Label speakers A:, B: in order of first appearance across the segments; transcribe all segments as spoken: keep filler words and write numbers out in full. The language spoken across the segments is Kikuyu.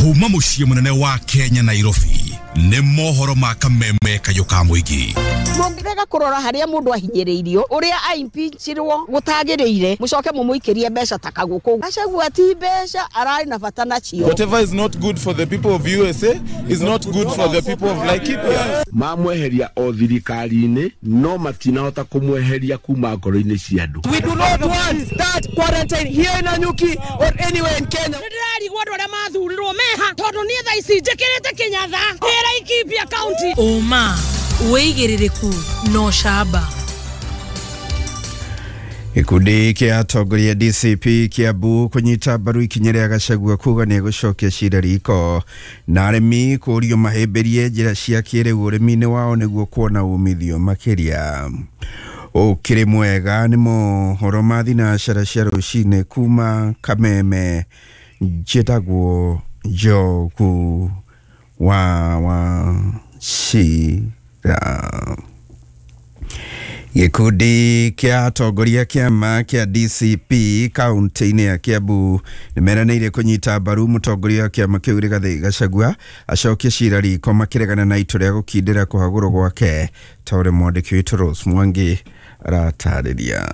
A: Kuma mũciĩ mũnene wa Kenya Nairobi nĩ mohoro ma kameme kayũ ka mũingĩ.
B: Mũngĩrega kũrora harĩa mũndũ ahinyĩrĩirio ũrĩa aimpeachirwo gũtagĩrĩire mũcoke mũmũikĩrie mbeca ta kagũkũ. Gachagua ti mbeca ararĩ na bata nacio.
C: Whatever is not good for the people of U S A is not good for the people of Laikipia.
D: Mamweheria o thirikari-inĩ no matinahota kũmweheria kuma ngoro-inĩ cia andũ.
E: We do not want that quarantine here in Nanyuki or anywhere in Kenya.
F: Nĩndĩrarigwo andũ arĩa mathurirwo meha tondũ niĩ thaa ici njĩkĩrĩte Kĩnyatha Laikipia County.
G: Ũma wĩigĩrĩrĩku no camba.
H: Gĩkundi kĩa atongoria D C P Kiambu kũnyita mbaru ikinya rĩa Gachagua kuga nĩ egũcokia cira riko na arĩmi kũũrio mahĩmbĩrie njĩra cia kĩrĩu ũrĩmi-inĩ wao nĩguo kuona umithio makĩria. Ũkĩrĩ mwega nĩ mohoro ma thinacara cia rũcinĩ kuma Kameme. Njĩtagwo Njogu wa Wachira. Gĩkundi kĩa atongoria kĩama kĩa D C P kaunti-inĩ ya Kiambu nĩmeranĩire kũnyita mbaru mũtongoria wa kĩama kĩu Rigathĩ Gachagua acokie cira riko makĩregana na itua rĩa gũkindĩra kũhagũrwo gwake ta ũrĩa mwandĩki witũ Rose Mwangi aratarĩria.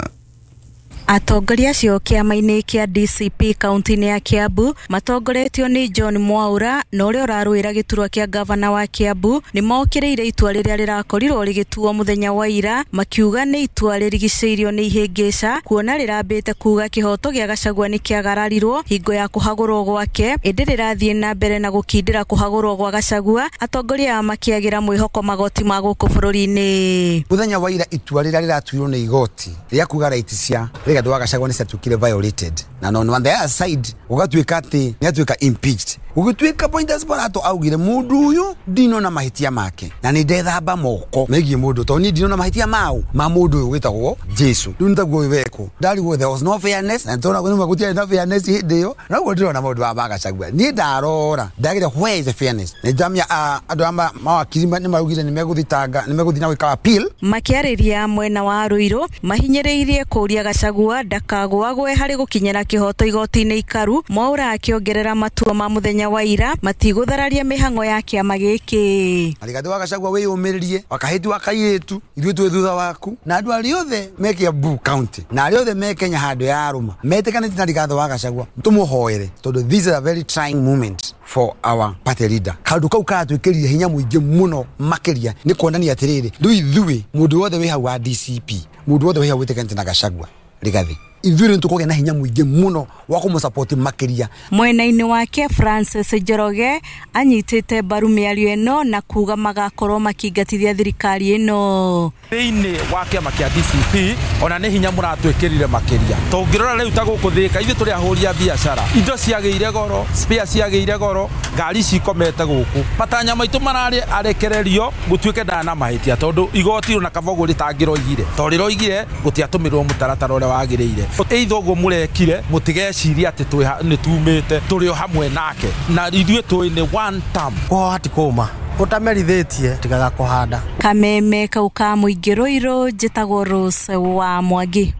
I: Atongoria acio kĩama-inĩ kĩa D C P kaunti-inĩ ya Kiambu matongoretio nĩ John Mwaura na ũrĩa ũrarũĩra gĩturwa kĩa gavana wa Kiambu nĩ mokĩrĩire itua rĩrĩa rĩrakorirwo rĩgĩtuo mũthenya wa ira makiuga nĩ itua rĩrigicĩirio nĩ ihĩngĩca kuona rĩrambĩte kuga kĩhoto gĩa Gachagua nĩ kĩagararirwo hingo ya kũhagũrwo gwake ĩndĩ rĩrathiĩ na mbere na gũkindĩra kũhagũrwo gwa Gachagua atongoria aya makĩagĩra mwĩhoko magoti ma gũkũ bũrũri-inĩ.
J: Mũthenya wa ira itua rĩrĩa rĩratuirwo nĩ igoti rĩa kuga right cia Rigathi wa Gachagua nĩ ciatuĩkire violated na no on the other side gũgatuĩka atĩ nĩ atuĩka impeached. Gũgĩtuĩka Pontius Pilato augire mũndũ ũyũ ndinona mahĩtia make na nĩ ndethamba moko megiĩ mũndũ tondũ niĩ ndinona mahĩtia mau ma mũndũ ũyũ wĩtagwo Jesu. Rĩu nĩ taguo wekwo ndarigwo there was no fairness na tondũ nĩ gũtiarĩ na fairness hĩndĩ ĩyo na ũguo ndĩrona maũndũ ma ma Gachagua niĩ ndarora ndagire where is the fairness nĩ ndamia andũ a mawakiri nĩ maraugire nĩ megũthitanga nĩ megũthiĩ na gwĩka appeal.
I: Makĩarĩria mwena wa Ruiru mahinyĩrĩirie kũũria Gachagua ndakagũagwe harĩ gũkinyĩra kĩhoto igoti-inĩ ikaru. Mwaura akĩongerera matua ma mũthenya wa ira matigũthararia mĩhang'o ya kĩama gĩkĩ.
J: Rigathi wa Gachagua wĩyũmĩrĩrie wakahĩtu wa kairĩtu ithuĩ twĩ thutha waku na andũ arĩa othe me Kiambu County na arĩa othe me Kenya handũ ya arũma metĩkanĩte na Rigathi wa Gachagua tũmũhoere tondũ this is a very trying moment for our party leader. Kaũndũ kau karatwĩkĩrire hinya mũingĩ mũno makĩria nĩ kuonania atĩrĩrĩ rĩu ithuĩ mũndũ wothe wĩ hau wa D C P mũndũ wothe wĩ hau wĩtĩkanĩte na Gachagua Rigathi ithuĩ nĩ tũkũgĩa na hinya mũingĩ mũno wa kũmũsupport makĩria.
I: Mwena-inĩ wake Francis Njoroge anyitĩte mbaru mĩario ĩno na kuga magakorwo makĩingatithia thirikari ĩno.
K: Thĩinĩ wa kĩama kĩa D C P ona nĩ hinya mũratwĩkĩrire makĩria tũngĩrora rĩu ta gũkũ Thĩka ithuĩ tũrĩ ahũri a biacara indo ciagĩire goro spare ciagĩire goro ngari cikomete gũkũ matanya maitũ mararĩ arekererio gũtuĩke ndana na mahĩtia tondũ igoti ona Kabogo rĩtangĩroigire tondũ rĩroigire gũtiatũmĩrwo mũtaratara ũrĩa wagĩrĩire. Eitho ũguo mũrekire mũtigecirie atĩ nĩ tumĩte tũrĩ o hamwe nake na ithuĩ tũĩ nĩ one term.
L: Kũhoha ti kũma ũtamerithĩtie tigaga kũhanda.
I: Kameme kau ka mũingĩ Ruiru njĩtagwo Rose wa Mwangi.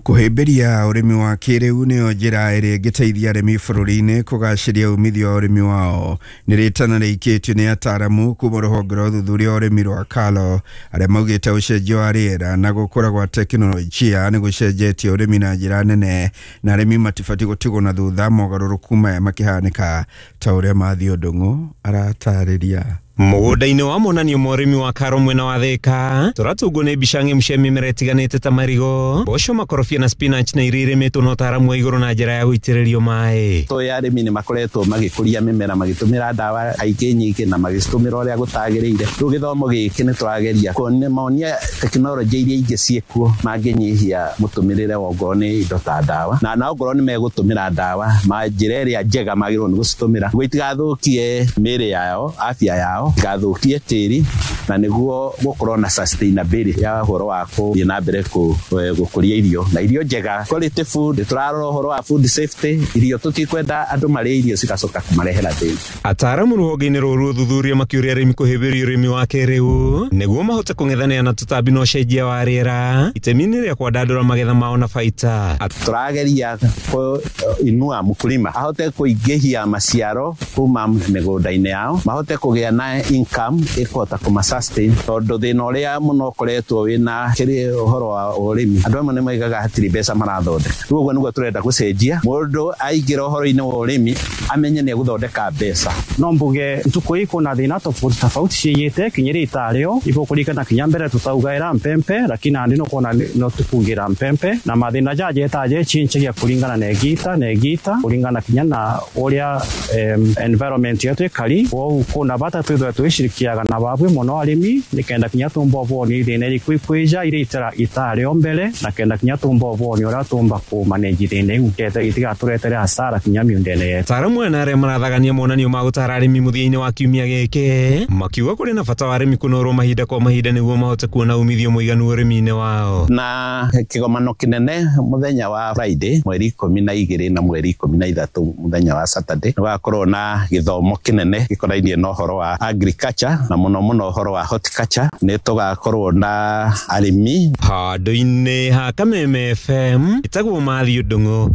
H: Kũhĩmbĩria ũrĩmi wa kĩrĩu nĩyo njĩra ĩrĩa ĩngĩteithia arĩmi bũrũri-inĩ kũgacĩria umithio wa ũrĩmi wao. Nĩ rĩtana rĩikĩtio nĩ ataaramu kuma rũhonge rwa ũthuthuria wa ũrĩmi rwa Kalo arĩa maugĩte ũcenjia wa rĩera na gũkũra gwa tekinoronjia nĩ gũcenjetie ũrĩmi na njĩra nene na arĩmi matibatiĩ gũtigwo na thutha mogarũrũku maya makĩhanĩka ta ũrĩa Matthew Ndung'u aratarĩria.
M: Mũgũnda-inĩ wa monanio ma ũrĩmi wa Karo mwena wa Thĩka tũratungwo nĩ mbica ng'emu cia mĩmera ĩtiganĩte ta marigo mboco makorobia na spinach na iria irĩmĩtwo na ũtaaramu wa igũrũ na njĩra ya gũitĩrĩrio maĩ.
N: Tũĩ arĩmi nĩ makoretwo magĩkũria mĩmera magĩtũmĩra ndawa kaingĩ nyingĩ na magĩcitũmĩra ũrĩa gũtagĩrĩire. Rĩu gĩthomo gĩkĩ nĩ tũrageria kuonia tekinoronjĩ iria ingĩ ciĩkuo mangĩnyihia mũtũmĩrĩre wa ongorwo nĩ indo ta ndawa na na ongorwo nĩ megũtũmĩra ndawa ma njĩra ĩrĩa njega magĩrĩirwo nĩ gũcitũmĩra nĩguo itigathũkie mĩĩrĩ yao afya yao. yao gathukie tĩri na nĩguo gũkorwo na sustainability ya ũhoro wa kũthiĩ na mbere gũkũria irio na irio njega quality food. Tũrarora ũhoro wa food safety, irio tũtikwenda andũ marĩe irio cigacoka kũmarehera thĩna.
M: Ataaramu rũhonge-inĩ rũrũ ũthuthuria makĩũria arĩmi kũhĩmbĩria ũrĩmi wa kĩrĩu nĩguo mahote kũng'ethanĩra na tũtambi na ũcenjia wa rĩera itemi-inĩ rĩa kwandandũra magetha mao na baita.
N: Tũrageria kũinua mũkulima ahote kũingĩhia maciaro kuma mĩgũnda-inĩ yao, mahote kũgĩa na income ĩkũhota kũma sustain, tondũ thĩna ũrĩa mũno ũkoretwo wĩna kĩrĩ ũhoro wa ũrĩmi andũ amwe nĩ moigaga hatirĩ mbeca marathondeka. Rĩu ũguo nĩguo tũrenda gũcenjia, mũndũ aingĩra ũhoro-inĩ wa ũrĩmi amenye nĩ egũthondeka mbeca.
O: No mbuge ntuku ii kuna thina tofauti tofauti ciiyite kinyiri itario igukurikana kinya mbere tutaugaira mpempe lakini andi no kuona no tukugira mpempe na mathina jaje taje chinchagia kuringana na egita na egita kuringana kinya na uria um, environment yetu ikari wo kuna bata twithwa twishirikiaga na babwe muno arimi nikenda kinya tumbo ni thina iri kwija iri itara itario mbere na kenda kinya tumbo ni uria tumba ku manage thina iu ketha itigaturetere hasara kinya miundene yetu.
M: Ataaramu aya na arĩa marathagania monanio ma gũtara arĩmi mũthia-inĩ wa kiumia gĩkĩ makiuga kũrĩ na bata wa arĩmi kũnorwo mahinda kwa mahinda nĩguo mahote kuona umithio mũiganu ũrĩmi-inĩ wao.
N: Na kĩgomano kĩnene mũthenya wa Friday mweri ikũmi na igĩrĩ na mweri ikũmi na ithatũ mũthenya wa Saturday nĩgũgakorwo na gĩthomo kĩnene gĩkonainie na ũhoro wa agriculture na mũno mũno ũhoro wa horticulture. Nĩ tũgakorwo na arĩmi
M: handũ-inĩ ha Kameme F M. Ĩtagwo Matthew Ndung'u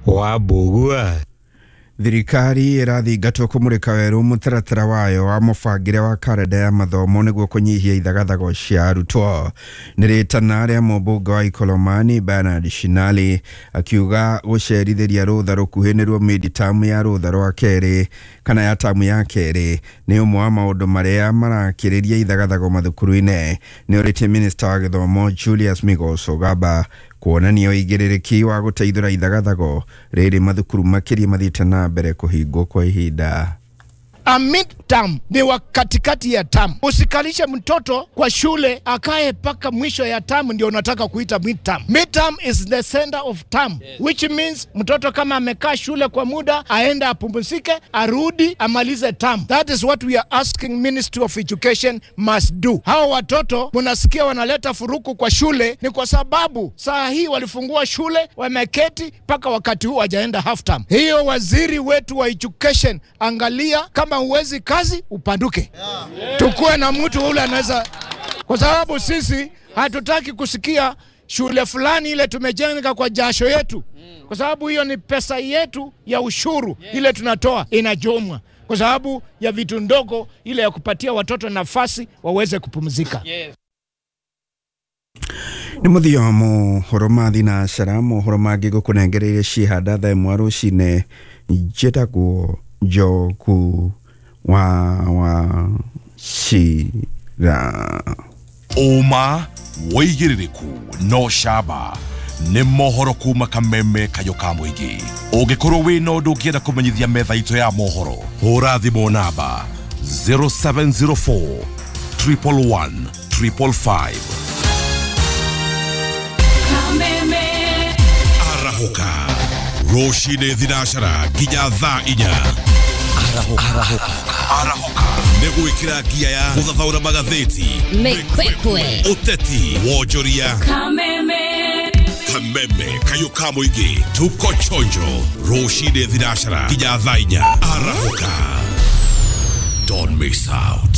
M: wa Mbũgua.
H: Thirikari ĩrathingatwo kũmũrĩka werũ mũtaratara wayo wa mũbangĩre wa karenda ya mathomo nĩguo kũnyihia ithagathago cia arutwo. Nĩ rĩtana rĩa mũmbunge wa Ikolomani Bernard Shinali akiuga gũcerithĩria rũtha rũkuhĩ nĩruo mid-term ya rũtha rwa kerĩ kana ya tamu ya kerĩ nĩ ũmwe wa maũndũ marĩa marakĩrĩria ithagathago mathukuru-inĩ. Nĩ ũrĩtie minista wa gĩthomo Julius Migos Ogamba kuonania ũigĩrĩrĩki wa gũteithũra ithagathago rĩrĩ mathukuru makĩria mathiĩte na mbere kũhingwo kwa ihinda.
P: A mid-term ni wa katikati ya term. Usikalishe mtoto kwa shule akae paka mwisho ya term ndio unataka kuita mid-term. Mid-term is the center of term, yes. Which means mtoto kama amekaa shule kwa muda aenda apumzike, arudi amalize term. That is what we are asking Ministry of Education must do. Hao watoto mnasikia wanaleta furuku kwa shule ni kwa sababu saa hii walifungua shule wameketi paka wakati huu hajaenda half term. Hiyo waziri wetu wa education, angalia kama uwezi kazi upanduke. Yeah. Tukue na mtu ule anaweza, kwa sababu sisi hatutaki kusikia shule fulani ile tumejenga kwa jasho yetu, kwa sababu hiyo ni pesa yetu ya ushuru ile tunatoa inajomwa kwa sababu ya vitu ndogo ile ya kupatia watoto nafasi waweze kupumzika.
H: Yes. Nĩ mũthia wa mohoro ma thinacara, mohoro mangĩ ngũkũnengereire cihanda thaa ĩmwe rũcinĩ. Njĩtagwo Njogu wa wa Cira.
A: Ũma wĩigĩrĩrĩku no camba nĩ mohoro kuma Kameme Kayũ ka mũingĩ. Ũngĩkorwo wĩna ũndũ ũngĩenda kũmenyithia metha itũ ya mohoro, hũra thimũ namba zero seven zero four triple one triple five.
G: Kameme
A: arahũka rũcinĩ thinacara nginya thaa inya. Arahũka arahũka nĩ gwĩkĩra ngia ya gũthathaũra magathĩti,
G: mĩkwekwe,
A: ũteti, wonjoria.
G: Kameme
A: Kameme Kayũ ka mũingĩ, tuko chonjo rũcinĩ thinacara nginya thaa inya. Arahũka, don't miss out.